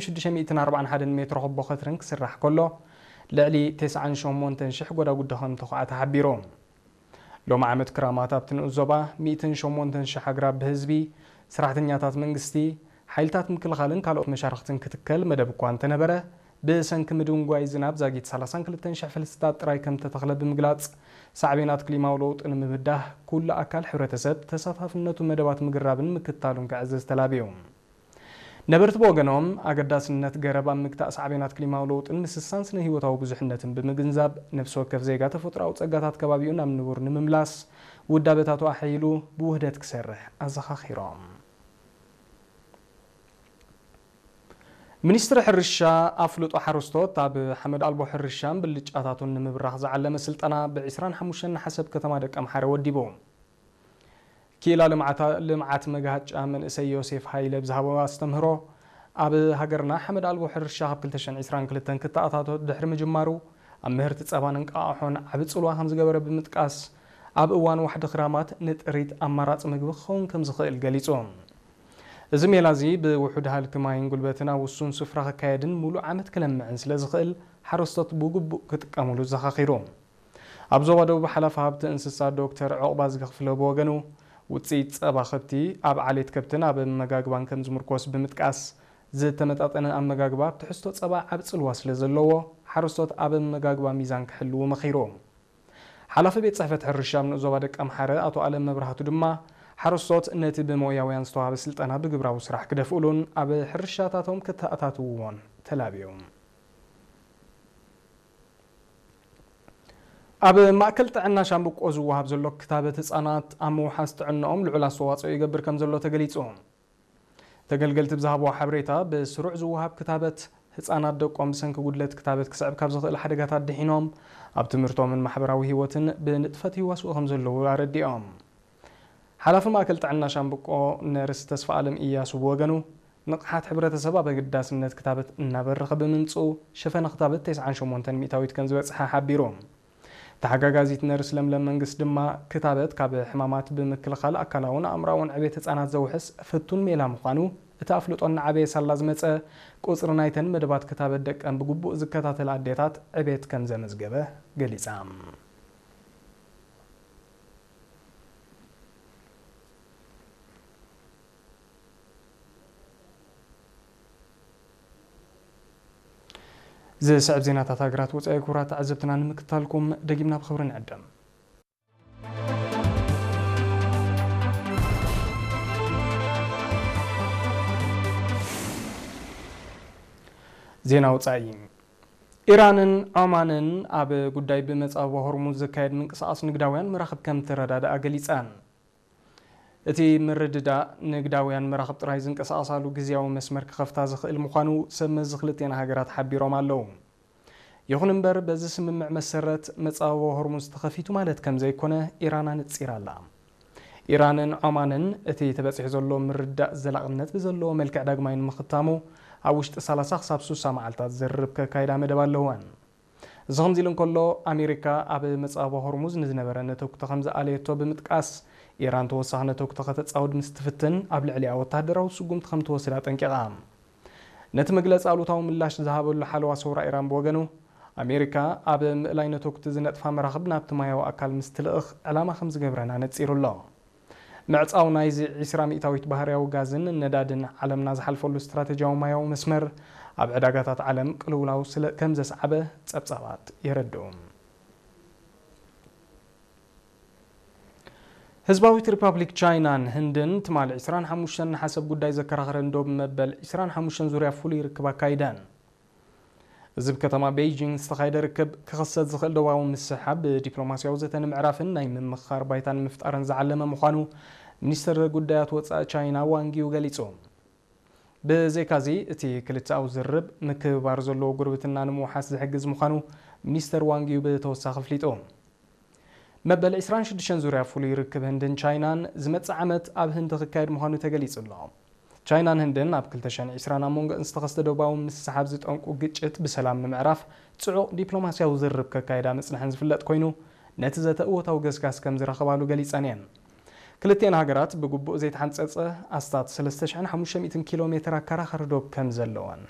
ሽዱሽተ ሚእትን ኣርባዓን ሓደን ሜትሮ ክቦ ከትርን ክስራሕ ከሎ፣ ልዕሊ ተስዓን ሸሞንተን ሽሕ ጎዳጉዲ ከም ተኹዓ ተሓቢሩ። ሎሚ ዓመት ክራማት ኣብቲ ንኡስ ዞባ ሚእትን ሸሞንተን ሽሕ ኣግራብ ብህዝቢ፣ ሰራሕተኛታት መንግስቲ፣ ሓይልታት ምክልኻልን ካልኦት መሻርኽትን ክትከል መደብ እኳ እንተነበረ፣ ብሰንኪ ምድንጓይ ዝናብ ዛጊት ሰላሳን ክልተን ሽሕ ፈልስታት ጥራይ ከም ተተኽለ ብምግላጽ፣ ሳዕቤናት ክሊማዊ ለውጢ ንምብዳህ ኩሉ ኣካል ሕብረተሰብ ተሳታፍነቱ መደባት ምግራብን ምክትታሉን ክዕዝዝ ተላብዩ። ነበርቲ ብወገኖም፣ ኣገዳስነት ገረብ ኣብ ምግታእ ሳዕቤናት ክሊማዊ ለውጥን ምስሳን ስነ ህይወታዊ ብዙሕነትን ብምግንዛብ፣ ነፍሲ ወከፍ ዜጋ ተፈጥሮኣዊ ጸጋታት ከባቢኡ ናብ ንቡር ንምምላስ ውዳበታቱ ኣሐይሉ ብውህደት ክሰርሕ ኣዘኻኺሮም። ሚኒስትሪ ሕርሻ ኣፍልጦ ሓረስቶት ኣብ ሓመድ ኣልቦ ሕርሻን ብልጫታቱን ንምብራኽ ዝዓለመ ስልጠና ብ ዕስራን ሓሙሽተን ነሓሰ ኣብ ከተማ ደቀምሓረ ወዲቡ። ክኢላ ልምዓታ-፣ ልምዓት መግሃጫ መንእሰይ ዮሴፍ ሃይለ ብዝሃቦ ኣስተምህሮ፣ ኣብ ሃገርና ሓመድ ኣልቦ ሕርሻ ካብ ክልተ ሽሕን ዕስራን ክልተን ክተኣታቶ ድሕሪ ምጅማሩ፣ ኣብ ምህርቲ ጸባን እንቃቕሖን ዓቢ ጽልዋ ከም ዝገበረ ብምጥቃስ፣ ኣብ እዋን ዋሕዲ ክራማት ንጥሪት ኣማራጺ ምግቢ ክኸውን ከም ዝኽእል ገሊጹ። እዚ ሜላ እዚ ብውሑድ ሃልኪ ማይን ጉልበትን ኣብ ውሱን ስፍራ ክካየድን ምሉእ ዓመት ክለምዕን ስለ ዝኽእል፣ ሓረስቶት ብግቡእ ክጥቀሙሉ ዘኻኺሩ። ኣብ ዞባ ደቡብ ሓላፊ ሃብቲ እንስሳ ዶክተር ዑቕባዝጊ ክፍለ ብወገኑ፣ ውጽኢት ጸባ ከብቲ ኣብ ዓሌት ከብትን ኣብ ኣመጋግባን ከም ዝምርኮስ ብምጥቃስ፣ ዝተመጣጠነ ኣመጋግባ ኣብ ትሕዝቶ ጸባ ዓቢ ጽልዋ ስለ ዘለዎ፣ ሓረስቶት ኣብ ኣመጋግባ ሚዛን ክሕልዉ መኺሩ። ሓላፊ ቤት ጽሕፈት ሕርሻ ኣብ ንኡስ ዞባ ደቀምሓረ ኣቶ ኣለም መብራህቱ ድማ፣ ሓረስቶት ነቲ ብሞያውያን ዝተዋህበ ስልጠና ብግብራዊ ስራሕ ክደፍኡሉን ኣብ ሕርሻታቶም ክተኣታትውዎን ተላብዩ። ኣብ ማእከል ጥዕና ሻምብቆ ዝወሃብ ዘሎ ክታበት ህጻናት ኣብ ምውሓስ ጥዕናኦም ልዑል ኣስተዋጽኦ ይገብር ከም ዘሎ ተገሊጹ። ተገልገልቲ ብዝሃብዎ ሓበሬታ፣ ብስሩዕ ዝወሃብ ክታበት ህጻናት ደቆም ብሰንኪ ጉድለት ክታበት ክስዕብ ካብ ዝኽእል ሓደጋታት ድሒኖም ኣብ ትምህርቶምን ማሕበራዊ ህይወትን ብንጥፈት ይዋስኡ ከም ዘለዉ ኣረዲኦም። ሓላፊ ማእከል ጥዕና ሻምብቆ ነርስ ተስፋ ኣለም ኢያሱ ብወገኑ፣ ንቕሓት ሕብረተሰብ ኣብ ኣገዳስነት ክታበት እናበረኸ ብምምጽኡ፣ ሸፈነ ክታበት ተስዓን ሸሞንተን ሚእታዊት ከም ዝበጽሐ ሓቢሩ። ተሓጋጋዚት ነርስ ለምለም መንግስት ድማ፣ ክታበት ካብ ሕማማት ብምክልኻል ኣካላውን ኣእምራውን ዕቤት ህጻናት ዘውሕስ ፍቱን ሜላ ምዃኑ፣ እቲ ኣፍልጦ እናዓበየ ሳላ ዝመጸ፣ ቁጽሪ ናይተን መደባት ክታበት ደቀን ብግቡእ ዝከታተላ ኣዴታት ዕቤት ከም ዘመዝገበ ገሊጻ። ዝስዕብ ዜናታት ሃገራት ወጻኢ፣ ክቡራት ተዓዘብትና፣ ንምክታልኩም ደጊምና ብኽብሪ ንዕደም። ዜና ወጻኢ። ኢራንን ዖማንን ኣብ ጉዳይ ብመጻብቦ ሆርሙዝ ዝካየድ ምንቅስቓስ ንግዳውያን መራኽብ ከም ትረዳድኣ ገሊጸን። እቲ ምርድዳእ፣ ንግዳውያን መራኽብ ጥራይ ዝንቀሳቐሳሉ ግዝያዊ መስመር ክኸፍታ ዝኽእል ምዃኑ ሰብ መዚ ክልቲኣን ሃገራት ሓቢሮም ኣለዉ። ይኹን እምበር፣ በዚ ስምምዕ መሰረት፣ መጻብቦ ሆርሙዝ ተኸፊቱ ማለት ከም ዘይኮነ ኢራን ኣነጺራ ኣላ። ኢራንን ዖማንን፣ እቲ ተበጺሑ ዘሎ ምርድዳእ ዘላቕነት ብዘለዎ መልክዕ ዳግማይ ንምኽታሙ፣ ኣብ ውሽጢ ሰላሳ ክሳብ ስሳ መዓልታት ዝርርብ ከካይዳ መደብ ኣለወን። እዚ ከምዚ ኢሉ እንከሎ፣ ኣሜሪካ ኣብ መጻብቦ ሆርሙዝ ንዝነበረ ነተጉቲ ከም ዝኣለየቶ ብምጥቃስ፣ ኢራን ተወሳኺ ነተጉቲ ከተጻውድ ምስ ትፍትን፣ ኣብ ልዕሊኣ ወተሃደራዊ ስጉምቲ ከም ትወስድ ኣጠንቂቓ። ነቲ መግለጺ ኣሉታዊ ምላሽ ዝሃበሉ ሓለዋ ሰውራ ኢራን ብወገኑ፣ ኣሜሪካ ኣብ ምእላይ ነተጉቲ ዝነጥፋ መራኽብ ናብቲ ማያዊ ኣካል ምስ ትልእኽ ዕላማ ከም ዝገብረን ኣነጺሩ ኣሎ። ምዕጻው ናይዚ ዒስራ ሚእታዊት ባህርያዊ ጋዝን ነዳድን ዓለምና ዝሓልፈሉ ስትራተጂያዊ ማያዊ መስመር፣ ኣብ ዕዳጋታት ዓለም ቅልውላው ስለ ከም ዘስዓበ ጸብጻባት የረድኡ። ህዝባዊት ሪፓብሊክ ቻይናን ህንድን ትማሊ ዒስራን ሓሙሽተን ነሓሰ ኣብ ጉዳይ ዘከራኽረን ዶብ መበል ዒስራን ሓሙሽተን ዙርያ ፍሉይ ርክብ ኣካይደን። እዚ ኣብ ከተማ ቤይጂንግ ዝተኻየደ ርክብ፣ ክኽሰት ዝኽእል ዶባዊ ምስሕሓብ ብዲፕሎማስያዊ ዘተ ንምዕራፍን ናይ ምምኽኻር ባይታ ንምፍጣርን ዝዓለመ ምዃኑ ሚኒስትር ጉዳያት ወጻኢ ቻይና ዋንግ ዩ ገሊጹ። ብዘይካዚ፣ እቲ ክልተኣዊ ዝርርብ፣ ምክብባር ዘለዎ ጉርብትና ንምውሓስ ዝሕግዝ ምዃኑ ሚኒስተር ዋንግ ዩ ብተወሳኺ ኣፍሊጡ። መበል ዒስራን ሽዱሽተን ዙርያ ፍሉይ ርክብ ህንድን ቻይናን ዝመጽእ ዓመት ኣብ ህንዲ ክካየድ ምዃኑ ተገሊጹ ኣሎ። ቻይናን ህንድን ኣብ ክልተ ሽሕን ዕስራን ኣብ መንጎ ዝተኸስተ ዶባዊ ምስሕሓብ ዝጠንቁ ግጭት ብሰላም ንምዕራፍ ጽዑቕ ዲፕሎማስያዊ ዝርርብ ከካይዳ ምጽንሐን ዝፍለጥ ኮይኑ፣ ነቲ ዘተ እወታዊ ገስጋስ ከም ዝረኸባሉ ገሊጸን እየን። ክልቲኤን ሃገራት ብግቡእ ዘይተሓንጸጸ ኣስታት ሰለስተ ሽሕን ሓሙሽተ ሚእትን ኪሎ ሜትር ኣከራኻሪ ዶብ ከም ዘለወን